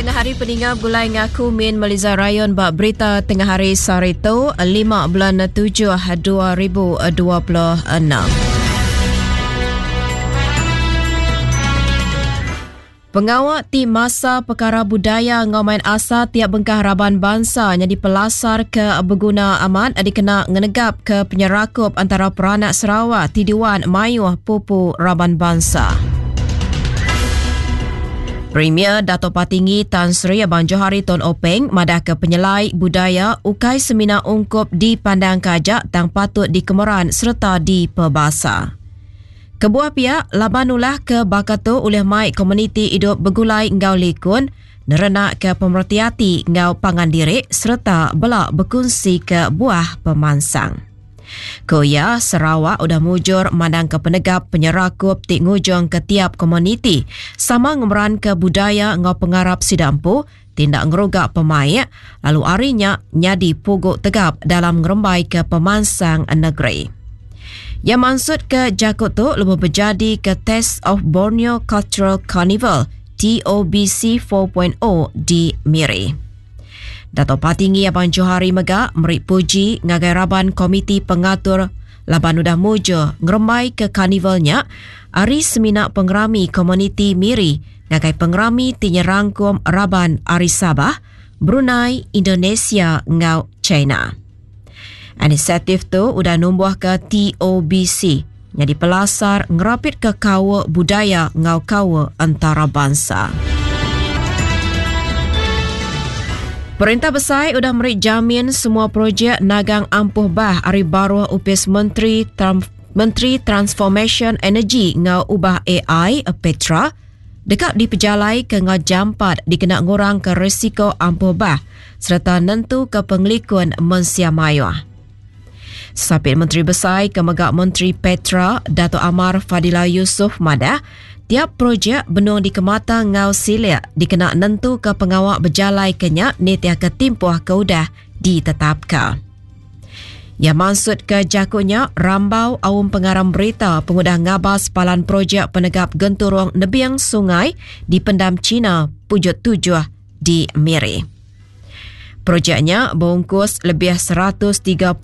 tengah hari peninga begulai ngaku Min Meliza Rayon ba berita tengah hari sehari tu 5 bulan 7 2026. Pengawa ti masa pekara budaya enggau main asal tiap bengkah raban bansa nyadi pelasar ke beguna amat dikena ngenegapka penyerakup antara peranak Sarawak ti diuan mayuh pupu raban bansa. Premier Datuk Patinggi Tan Sri Abang Johari Tun Openg madahka penyelai budaya ukai semina ungkup dipandangka aja tang patut dikemeran sereta dipebasa. Kebuah pia, laban ulah ke baka tu ulih mai komuniti idup begulai enggau likun, nerenakka pemereti ati enggau pangan diri sereta bela bekunsika buah pemansang. Ku iya, Sarawak udah mujur mandangka penegap penyerakup ti ngujungka tiap komuniti sama ngemeranka budaya enggau pengarap sida empu ti enda ngeruga pemaik lalu ari nya nyadi pugu tegap dalam ngerembaika pemansang negeri. Iya mansutka jaku tu lebuh bejadika Taste of Borneo Cultural Carnival, TOBC 4.0 di Miri. Dato Patinggi Abang Johari mega meri puji ngagai raban komiti pengatur laban udah mujur ngerembaika karnival nya ari semina pengerami komuniti Miri ngagai pengerami ti nyerangkum raban ari Sabah, Brunei, Indonesia enggau China. Inisiatif tu udah numbuhka TOBC nyadi pelasar ngerapitka kaul budaya enggau kaul entarabansa. Perintah Besai udah meri jamin semua projek nagang ampuh bah ari baruh Opis Menteri Menteri Transformasyen Energi enggau Ubah Ai, Petra, deka dipejalaika enggau jampat dikena ngurangka risiko ampuh bah sereta nentuka pengelikun mensia mayuh. Sapit Menteri Besai ke mega Menteri Petra Datuk Amar Fadillah Yusof madah, tiap projek benung dikemata enggau silik dikena nentuka pengawa bejalaika nya nitihka timpuh ke udah ditetapka. Iya mansutka jaku nya rambau aum pengarang berita pengudah ngabas palan projek penegap genturung nebing sungai di Pendam Cina, Pujut Tujuh di Miri. Projek nya beungkus lebih 134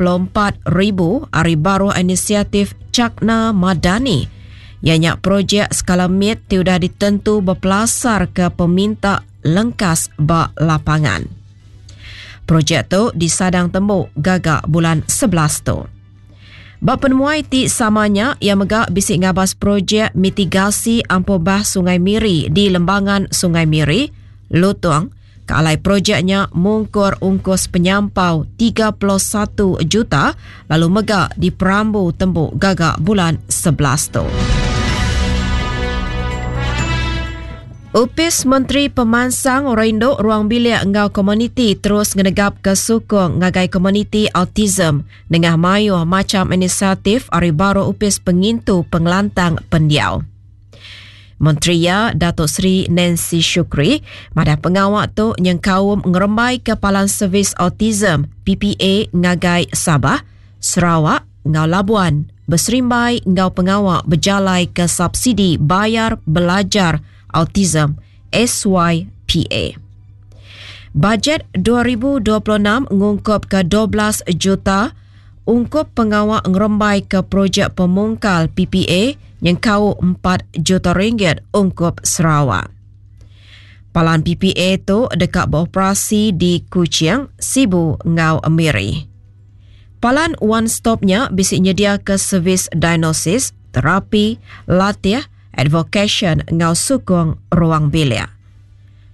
ribu ari baruh inisiatif Cakna Madani iya nya projek skala mit ti udah ditentu bepelasarka peminta lengkas ba lapangan. Projek tu disadang tembu gaga bulan 11 tu. Ba penemuai ti sama nya, iya mega bisi ngabas projek mitigasi ampuh bah Sungai Miri di Lembangan Sungai Miri, Lutong, ke alai projek nya mungkur ungkus penyampau 31 juta lalu mega diperambu tembu gaga bulan 11 tu. Opis Menteri Pemansang Orang Indu, Ruang Bilik enggau Komuniti terus ngenegapka sukung ngagai komuniti autism nengah mayuh macham inisiatif ari baruh Opis Pengintu Pengelantang Pendiau. Menteri iya, Datuk Seri Nancy Shukri, madah pengawa tu nyengkaum ngerembaika Palan Servis Autism, PPA, ngagai Sabah, Sarawak enggau Labuan beserimbai enggau pengawa bejalaika Subsidi Bayar Belajar Autism, SYPA. Bajet 2026 ngungkupka 12 juta ungkup pengawa ngerembaika projek pemungkal PPA nyengkaum empat juta ringgit ungkup Sarawak. Palan PPA tu deka beoperasi di Kuching, Sibu enggau Miri. Palan One Stop nya bisi nyediaka servis diagnosis, terapi, latih, advokasyen enggau sukung ruang bilik.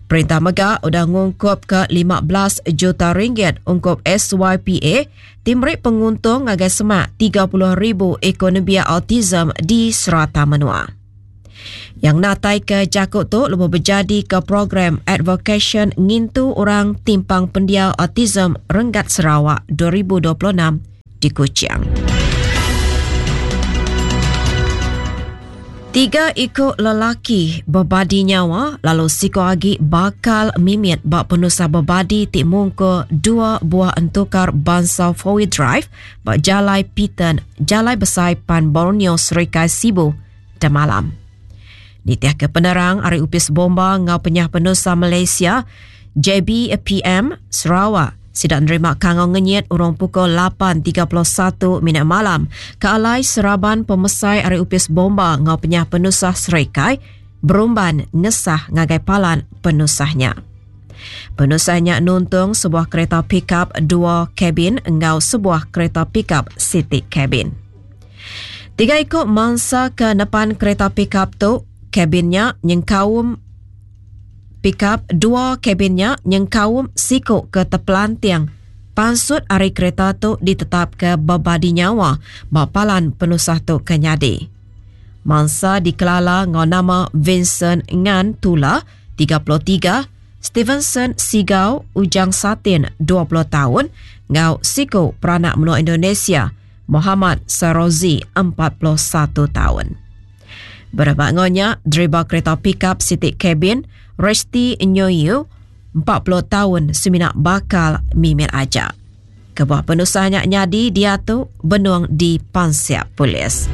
Perintah mega udah ngungkupka 15 juta ringgit ungkup SYPA ti meri penguntung ngagai semak 30,000 iku nembiak autism di serata menua. Yang natai ke jaku tu lebuh bejadika program Advokasyen Ngintu Orang Timpang Pendiau Autism Renggat Sarawak 2026 di Kuching. Tiga iku lelaki bebadi nyawa lalu siku agi bakal mimit ba penusah bebadi ti mungkur dua buah entukar bansa four-wheel drive ba Jalai Piton, Jalai Besai Pan Borneo Serikai Sibu, demalam. Nitihka penerang ari Opis Bomba enggau Penyah Penusah Malaysia, JBPM, Sarawak, sida nerima kangau ngenyit urung pukul 8.31 minit malam ke alai seraban pemesai ari Opis Bomba enggau Penyah Penusah Serikai berumban ngesah ngagai palan penusah nya. Penusah nya nuntung sebuah kereta pikap dua kabin enggau sebuah kereta pikap siti kabin. Tiga iku mansa ke nepan kereta pikap tu, kabin nya nyengkaum pikap dua kabin nya nyengkaum siku ke tepelanting pansut ari kereta tu ditetapka bebadi nyawa ba palan penusah tu ke nyadi. Mansa dikelala enggau nama Vincent Ngan Tula, 33, Stevenson Sigau Ujang Satin, 20 taun, enggau siku peranak menua Indonesia, Mohamad Sarozi, 41 taun. Berebak enggau nya, deriba kereta pikap siti kabin, Resti Nyoyu, 40 taun semina bakal mimit aja. Kebuah penusah nya nyadi diatu benung dipansik polis.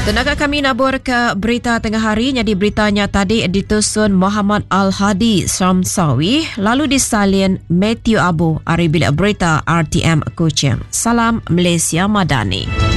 Tenaga kami nabur ke berita tengah hari nyadi berita nya tadi ditusun Muhammad Al-Hadi Samsawi lalu disalin Matthew Abu ari bilik berita RTM Kuching. Salam Malaysia Madani.